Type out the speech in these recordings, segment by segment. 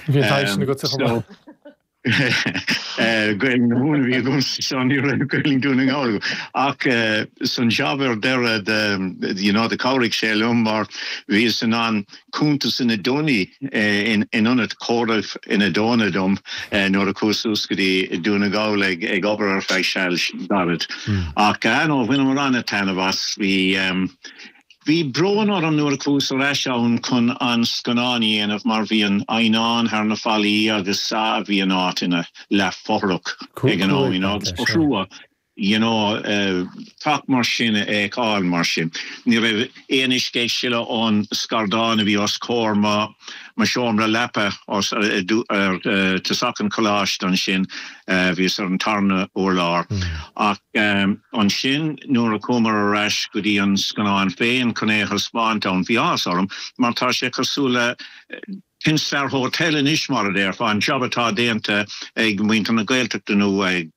Bhí an taithí sin agatsa chomh maith. Gaelainn na Mumhan a bhí agamsa so ní raibh Gaelainn Dún na nGall agam. Ach san jab ar deireadh de you know do chabhraigh sé liom mar bhíos in ann cuntas ina dtonaí in ionad comhaireamh ina dtóna dom nuair a chuas suas go dtí Dún na nGall ag obair ar feadh seal gairid. Ach ah no bhaineamar an-taitneamh as. Bhí Bhí brón orm nuair a chuas ar ais ann chun an scannán a dhéanamh mar bhí an eidhneán thar na fallaí agus ah bhí an áit ina leath-fhothrach ag an am you know agus ba thrua you know teach mar sin a fheiceáil mar sin. Ní raibh aon uisce ag sileadh ón scardán a bhí os comhair mo mo seomra leapa os ar tosach an choláiste ansin, bhíos ar an tarna urlár. Ach ansin nuair a chuamar ar ais go dtí an scannán féin chun é a thaispeáint ann, bhí áthas orm mar tá sé cosúil le Peninsular Hotel anois mar a déarfá, an jab atá déanta ag muintir na Gaeltachta nó ag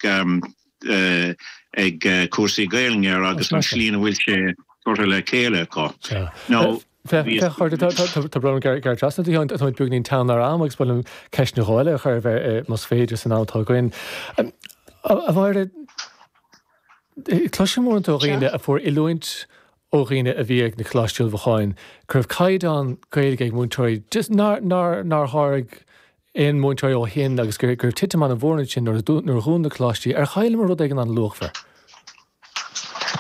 ag cúrsaí Gaelainne air agus an tslí ina bhfuil sé curtha le chéile acu. Nó. Féach, a chairde, tá brón orm gearradh trasna ort, a Sheáin, táimid beagainín teann ar am agus ba mhaith liom ceist nó dhó eile a chur ort más féidir san am atá againn. A Mháire, cloisim uaireanta ó dhaoine a fuair oiliúint ó dhaoine a bhí ag na Coláistí Ullmhúcháin go raibh caighdeán Gaeilge ag múinteoirí just nár, nár, nár sháraigh aon mhúinteoirí ó shin agus go raibh titim an-mhór ansin nuair a dhún na coláistí. Ar chailleamar rud éigin an-luachmhar?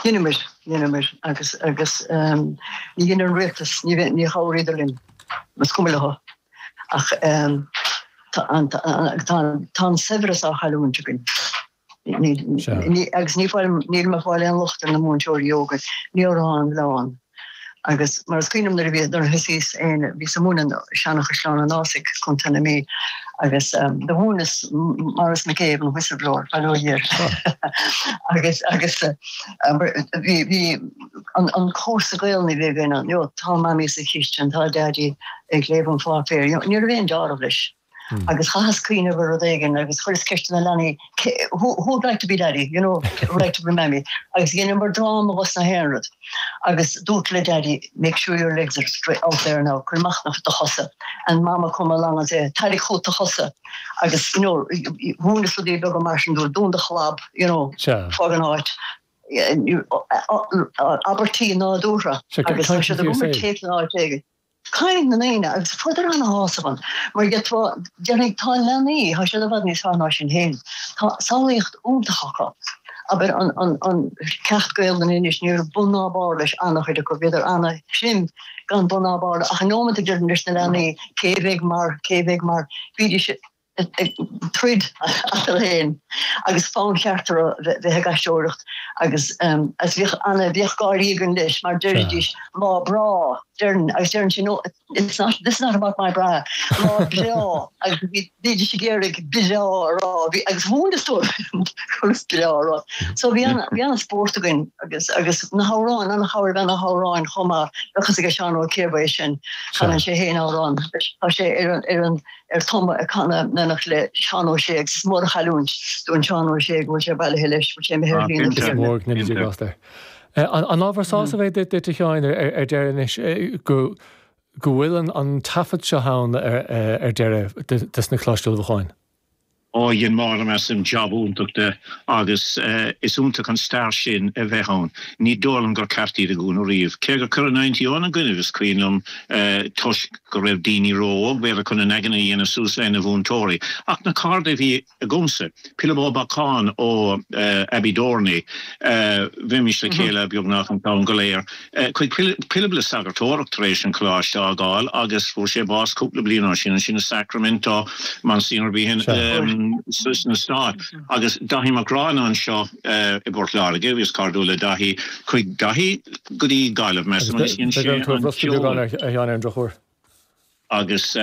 Dheineamar, dheineamar agus, agus ní dhein an rialtas, ní, ní chabhraíodar linn, is cuma leo. Ach tá an, tá, tá an saibhreas á chailliúint againn. Ní, ní, agus ní fáil, níl mé ag fáil aon locht ar na múinteoirí óga, ní raibh an mhilleán. Agus mar is cuimhin liom nuair a bhí, nuair a thosaíos féin, bhíos ag múineadh i Seanachaisleán an Ásaigh, Contae na Mí, agus do mhúineas Maurice McCabe an whistleblower, bail ó Dhia air. Agus, agus bhí, bhí an, an cúrsa Gaelainne a bhí againn ann, you know, tá Mamaí sa chistin, tá Daidí ag léamh an pháipéir, you know, ní raibh aon deáramh leis. Agus chaitheas cuimhneamh ar rud éigin agus chuireas ceist ar na leanaí, who would like to be daddy, you know, who would like to be mammy? Agus dheineamar dráma dhos na haon rud. Agus dúirt le daddy, make sure your legs are straight out there now, cuir amach na do chosa. And mama come along and say, tarraing chugat do chosa. Agus, you know, mhúineas rudaí beaga mar sin dóibh, dún do chlab, you know, fág an áit. Abairtí nádúrtha. Agus tá siad ag imirt téip in áit éigin. Caint na ndaoine, agus fuaireadar ana-shásamh ann, mar d'fhéadfá, déarfainn, tá leanaí, tá siad i bhfad níos fearr ná sinn féin, tá samhlaíocht iontach acu. Abair, an, an, an ceacht Gaelainne anois, ní raibh bun ná barr leis, ana-chuid acu, bhíodar ana-thrim gan bun ná barr, ach an nóiméad a déarfainn leis na leanaí, cé bheidh mar, cé bheidh mar, bhídís ag troid eatarthu féin agus fonn cheart orthu bheith ag aisteoireacht agus agus bhíodh ana bhíodh gáirí againn leis mar deiridís lá breá deireann agus deireann sí no it's not this is not about my bra lá breá agus bhí bhídís ag iarraidh breá a rá bhí agus mhúineas dóibh conas breá a rá so bhí ana bhí ana spórt againn agus agus na hamhráin ana chabhair bheith na hamhráin chomh maith bheadh fhios ag Seán Ó Ciarmhá é sin canann sé féin amhrán tá sé ar an ar an ar tumadh ag canadh in éineacht le Seán Ó Sé agus is mór an chailliúint dúinn Seán Ó Sé go bhfuil sé bailithe leis, go bhfuil sé imithe ar shlí na Is mór go ndéana Dia grásta air. An ábhar sásaimh é duit a Sheáin ar deireadh anois go go bhfuil an taifead seo ann ar deireadh des na Coláistí Ullmhúcháin? Ó, dhein Máire measaim jab iontach de agus is iontach an stair sin a bheith ann. Ní dóigh liom gur ceart iad a dhúnadh riamh. Cé gur cuireadh Ninety One i gcoinnibh is cuimhin liom toisc go raibh daoine ró-óg b'fhéidir chun a n-aigne a dhéanamh suas le na mhúinteoirí. Ach na cairde a bhí agamsa, Pilib Ó Beacháin ó Abbeydorney, bheimis le chéile beagnach an t-am go léir. Chuaigh Pilib le sagartóireacht tar éis an choláiste a fhágáil agus fuair sé bás cúpla bliain ó sin, ansin i Sacramento, Monsignor Behan sna Stáit. Agus Daithí Mac Grianna anseo i bPort Láirge, bhíos cairdiúil le Daithí, chuaigh Daithí go dtí Gaillimh, measaim, agus dhein sé an ceol. Agus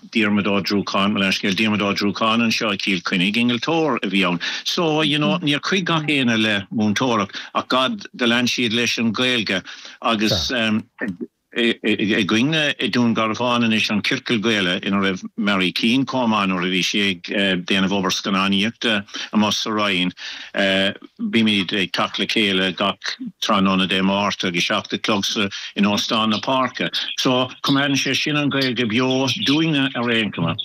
Diarmuid Ó Dúracáin, mo leithscéal, Diarmuid Ó Dúracáin anseo i gCill Chainnigh, innealtóir a bhí ann. So, you know, níor chuaigh gach éinne le múinteoireacht ach gad do lean siad leis an Ghaeilge agus againne i Dún Garbhán anois an Ciorcal Gaeilge ina raibh Mary Keane chomh maith nuair a bhí sí ag déanamh obair scannánaíochta amuigh sa Rinn. Bímid ag teacht le chéile gach tráthnóna Dé Máirt ag 7 a chlog sa in Óstán na Páirce. So, coimeádann sé sin an Ghaeilge beo dúinne ar aon chuma.